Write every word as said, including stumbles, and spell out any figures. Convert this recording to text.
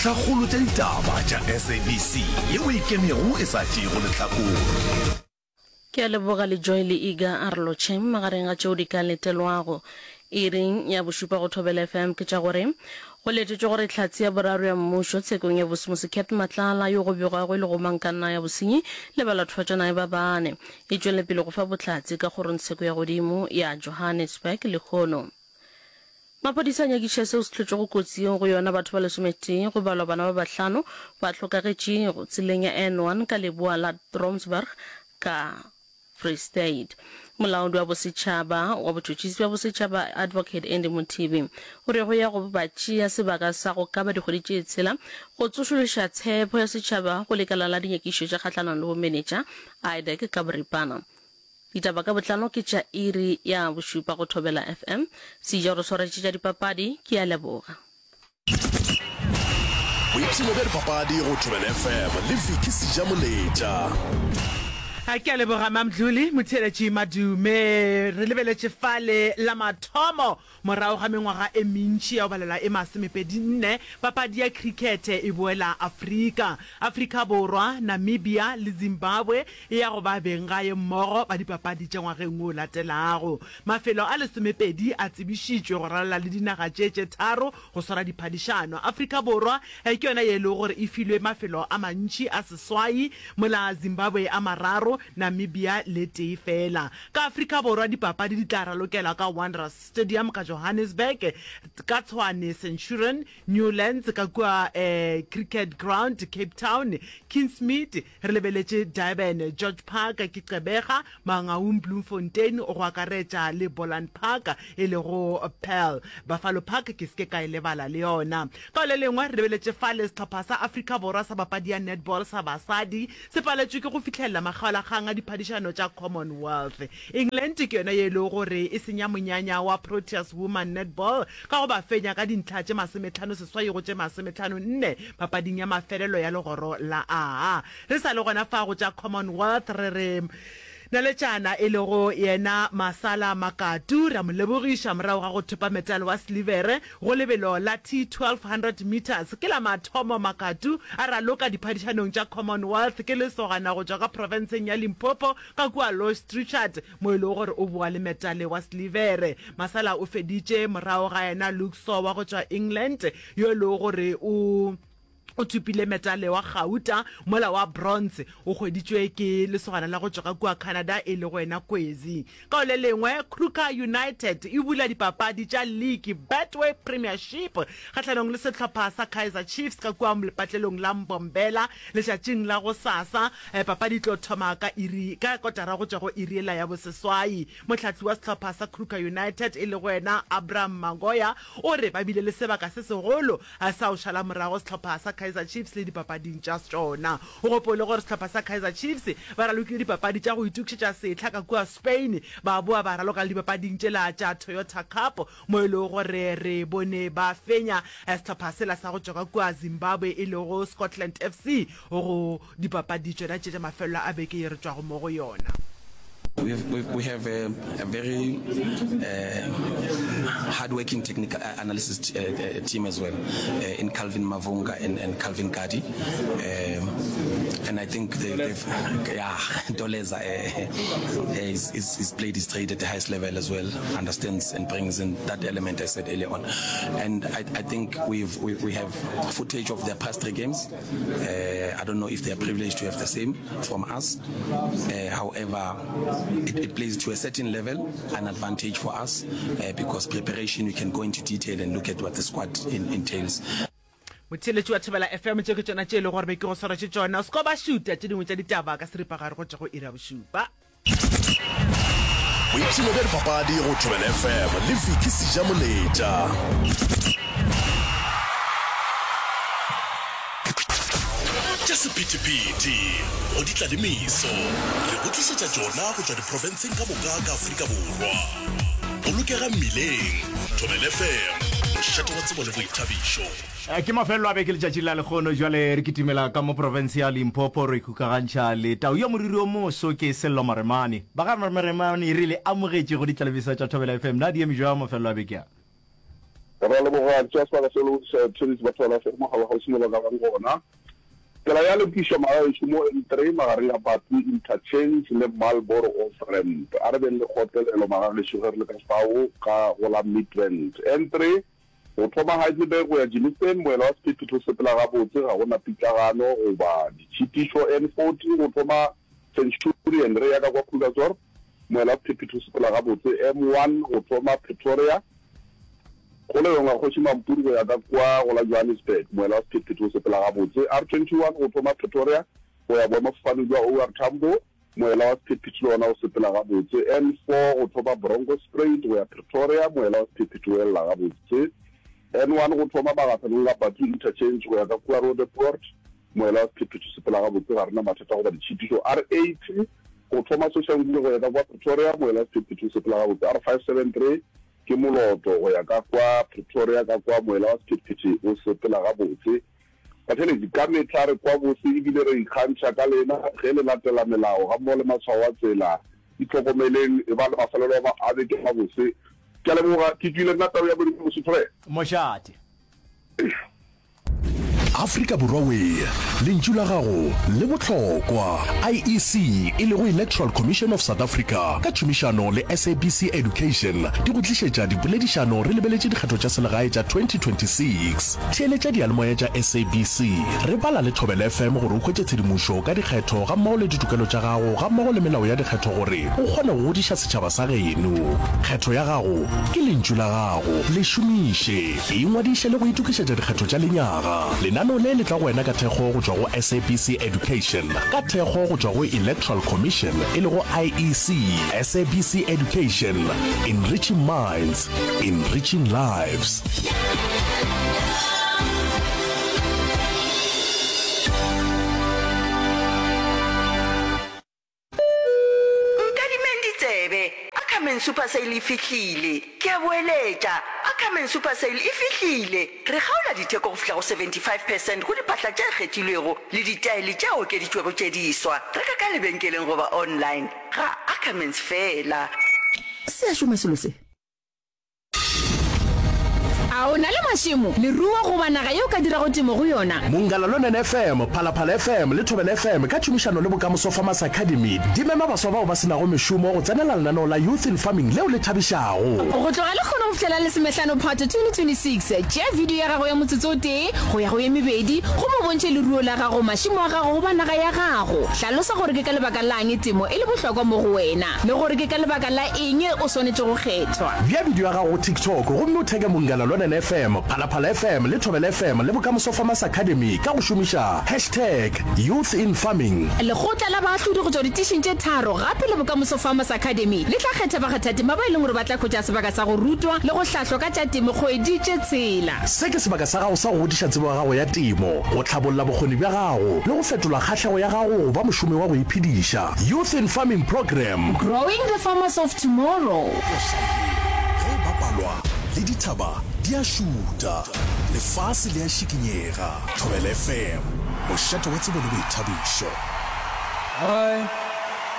Dintlhakgolo tša ditaba tša S A B C yeo e ikemego e sa tšeego lehlakore. Ke a leboga le Joy le Iga a re lotšheng magareng ga tšeo di ka letelwago iring ya bošupa go Thobela F M ke tša gore go letetšwe gore hlatse ya boraro ya mmušo tshekong ya Bosmose Cat Matlala yo go begwago e le gomangkanna ya bosenyi le balathofatšanae ba bane e tšwele pele go fa bohlatse ka kgorongtsheko ya godimo ya Johannesburg lehono. Maphodisa a nyakišiša seo se hlotšego kotsi yeo go yona batho ba lesometee go balwa bana ba bahlano ba hlokagetšego tseleng ya N one ka leboa la Trompsburg ka Free State. Molaodi wa bosetšhaba wa botšhotšhisi bja bosetšhaba Advocate Andy Mothibi o re go ya go ba tšea sebaka sa go ka ba dikgwedi tše tshela go tsošološa tshepho ya setšhaba go lekala la dinyakišišo tša kgahlanong le bomenetša I D A C ka boripana. Ditaba ka botlalo ke tša iri ya bošupa go Thobela F M. Seja o re swaretše tša dipapadi, ke a leboga. Boipshino bja dipapadi go Thobela F M le Vicky Sejamoletša. Ke a leboga Mamdluli Motheeletši Madume. Re lebeletše fale la mathomo morago ga mengwaga e mentši ya go balelwa e masomepedi nne papadi ya khrikhethe e boela Afrika. Afrika Borwa, Namibia le Zimbabwe e ya go ba benggae mmogo ba dipapadi tša ngwageng wo latelago. Mafelo a lesomepedi a tsebišitšwe go ralala le dinaga tše tše tharo go swara diphadišano. Afrika Borwa ke yona ye e lego gore e filwe mafelo a mantši a seswai, mola Zimbabwe a mararo, Namibia le tee fela. Ka Afrika Borwa dipapadi di tla ralokelwa ka Wanderers Stadium ka Johannesburg, ka Tshwane Centurion, Newlands ka kua Cricket Ground Cape Town, Kingsmead re lebeletše Durban, George Park ke Gqeberha, Mangaung Bloemfontein go akaretša le Boland Park e lego Paarl. Buffalo Park ke se ke ka e lebala le yona. Ka le lengwe re lebeletše fale sehlopha sa Afrika Borwa sa papadi ya netball sa basadi se paletšwe ke go fihlelela makgaolakgang a diphadišano tša Commonwealth. England ke yona ye e lego gore e senya monyanya wa Proteas Woman Netball ka go ba fenya ka dintlha tše masometlhano seswai go tše masometlhano nne papading ya mafelelo ya legoro la A. Re sa le gona fa go tša Commonwealth re re naletšana e lego yena Masala Makatu re a mo lebogiša morago ga go thopa metale wa silivere go lebelo la T twelve hundred meters. Ke la mathomo Makatu a raloka diphadišanong tša Commonwealth ke lesogana go tšwa ka profenseng ya Limpopo ka kua Louis Trichardt mo e lego gore o boa le metale wa silivere. Masala o feditše morago ga yena Luke Shaw wa go tšwa England yo e lego gore o o thopile metale wa gauta, mola wa bronze o hweditšwe ke lesogana la go tšwa ka kua Canada e lego yena Kwezi. Ka le lengwe Kruger United e bula dipapadi tša league Betway Premiership kgahlanong le sehlopha sa Kaizer Chiefs ka kua lepatlelong la Mbombela letšatšing la gosasa. eh, papadi e tlo thoma ka iri ka kotara go tšwa go iri ela ya boseswai. Mohlahli wa sehlopha sa Kruger United e lego yena Abraham Magoya o re ba bile le sebaka se segolo sa go šala morago sehlopha sa Kaizer Chiefs le dipapading tša tšona. O gopole gore sehlopha sa Kaizer Chiefs ba ralokile dipapadi tša go itokišetša sehla ka kua Spain, ba boa ba raloka le dipapading tšela tša Toyota Cup mo e lego gore re bone ba fenya sehlopha sela sa go tšwa ka kua Zimbabwe e lego Scotland F C go dipapadi tšona tše tša mafelelo a beke ye re tšwago mo go yona. We have, we, we have a, a very uh, hardworking technical uh, analysis uh, uh, team as well uh, in Calvin Mavunga and, and Calvin Gadi. Um, and I think they, they've, yeah, Doleza uh, is, is, is played his trade at the highest level as well, understands and brings in that element I said earlier on. And I, I think we've, we, we have footage of their past three games. Uh, I don't know if they are privileged to have the same from us. Uh, however, it, it plays to a certain level an advantage for us uh, because preparation, we can go into detail and look at what the squad in, entails. Motheeletši wa Thobela F M, tše ke tšona tše e lego gore be ke go swaretše tšona. O se ko ba šuta tše dingwe tša ditaba ka seripagare go tšwa go iri ya bošupa. Boipshino bja dipapadi go Thobela F M le Vicky Sejamoletša. Tša sephethephethe go di tla le meso re go tlišetša tšona go tšwa diprofenseng ka moka ka Afrika Borwa. Bolokega mmileng. Thobela F M, mošate wa tsebo le boithabišo. Ke mafelelo a beke letšatšing la lekgono. Jwale re kitimela ka mo profense ya Limpopo re ikgokagantšha le tau ya moriri o moso ke Sello Maremane. Ba ga Maremane re le amogetše go ditlalebiso tša Thobela F M. Na di eme jwang mafelelo a beke a? Re a leboga tšea sebaka se le go tliša theeletši ba Thobela FM mogala kgauswi mo ba ka bang gona. Tsela ya lokišwa magagešu mo N three magareng a Bathu Interchange le Marlboro Off Ramp. A re beng le kgotlelelo magagešu ge re le ka fao ka go la Midrand. N three go thoma Heidelberg go ya Germiston, moela wa sephethephethe o sepela gabotse, ga go na pitlagano goba ditšhitišo. N forty go thoma Centurion re ya ka kwa Krugersdorp, moela wa sephethephethe o sepela gabotse. M one go thoma Pretoria Kgolegong ya Kgoši Mampuru go ya ka kwa go la Johannesburg, moela wa sephethephethe o sepela gabotse. R twenty one go thoma Pretoria go ya boemafofaneng bja O R Tambo, moela wa sephethephethe le wona o sepela gabotse. N four go thoma Bronkhorstspruit go ya Pretoria, moela wa sephethephethe o elela gabotse. N one go thoma magahlanong a Bathu Interchange go ya ka kua Roodepoort, moela wa sephethephethe o sepela gabotse, ga re na mathata goba ditšhitišo. R eighty go thoma Soshanguve go ya ka kwa Pretoria, moela wa sephethephethe o sepela gabotse. R five seven three Ke moloto go ya ka kwa Pretoria, ka kwa moela wa sephethephethe o sepela gabotse. Batheeletši, ka mehla re kwa bose e bile re ikgantšha ka lena ge le latela melao gammogo le matshwao a tsela. Itlhokomeleng, e ba le mafelelo a beke a mabose. Ke a leboga. Ke tšwile nna tau ya Modimo Mosotho ge. Mošate. Afrika Borwa wee, lentšu la gago le bohlokwa. I E C e lego Electoral Commission of South Africa ka tšhomišano le S A B C Education di go tlišetša dipoledišano re lebeletše dikgetho tša selegae tša twenty twenty six Theeletša diyalemoya tša S A B C re bala le Thobela F M gore o hwetše tshedimošo ka dikgetho gammogo le ditokelo tša gago gammogo le melao ya dikgetho gore o kgone go godiša setšhaba sa geno. Kgetho ya gago ke lentšu la gago, le šomiše. Ingwadiše le go itokišetša dikgetho tša lenyaga. Lenaneo le le tla go wena ka thekgo go tšwa go S A B C Education, ka thekgo go tšwa go Electoral Commission e lego I E C. S A B C Education, enriching minds, enriching lives. Nkadimeng ditsebe, Ackerman Super Sale e fihlile! Ke a boeletša, Ackerman Super Sale e fihlile! Re kgaola ditheko go fihla go seventy five percent go diphahla tše kgethilwego le ditaele tše okeditšwego tše diswa. Reka ka lebenkeleng goba online ga Ackermans feela. Se a šoma selo se. A o na le mašemo, leruo goba naga ye o ka dirago temo go yona? Mongala Lonene F M, Phalaphala F M le Thobela F M ka tšhomišano le Bokamoso Farmers Academy di mema baswa bao ba se nago mešomo go tsenela lenaneo la Youth in Farming leo le thabišago. Go tloga lekgono go fihlela lesomehlano Phato twenty twenty-six, tšea video ya gago ya motsotso o tee go ya go ye mebedi gomme o bontšhe leruo la gago, mašemo a gago goba naga ya gago. Hlalosa gore ke ka lebaka la'ng temo e le bohlokwa mo go wena le gore ke ka lebaka la eng o swanetše go kgethwa. Bea bidio ya gago go TikTok gomme o theke Munghana Lonene F M, Phalaphala F M le Thobela F M le Bokamoso Farmers Academy ka go šomiša hashtag YouthInFarming. Lekgotla la baahlodi go tšwa ditišing tše tharo gape le Bokamoso Farmers Academy le tla kgetha bakgathatema ba e leng gore ba tla hwetša sebaka sa go rutwa le go hlahlwa ka tša temo kgwedi tše tshela. Se ke sebaka sa gago sa go godiša tsebo ya gago ya temo, go hlabolla bokgoni bja gago le go fetola kgahlego ya gago go ba mošomi wa go iphediša. Youth in Farming Programme. Growing the farmers of tomorrow. Koša ye ge e bapalwa le dithaba di a šuta, lefase le a šikinyega. Thobela F M, mošate wa tsebo le boithabišo. Hi,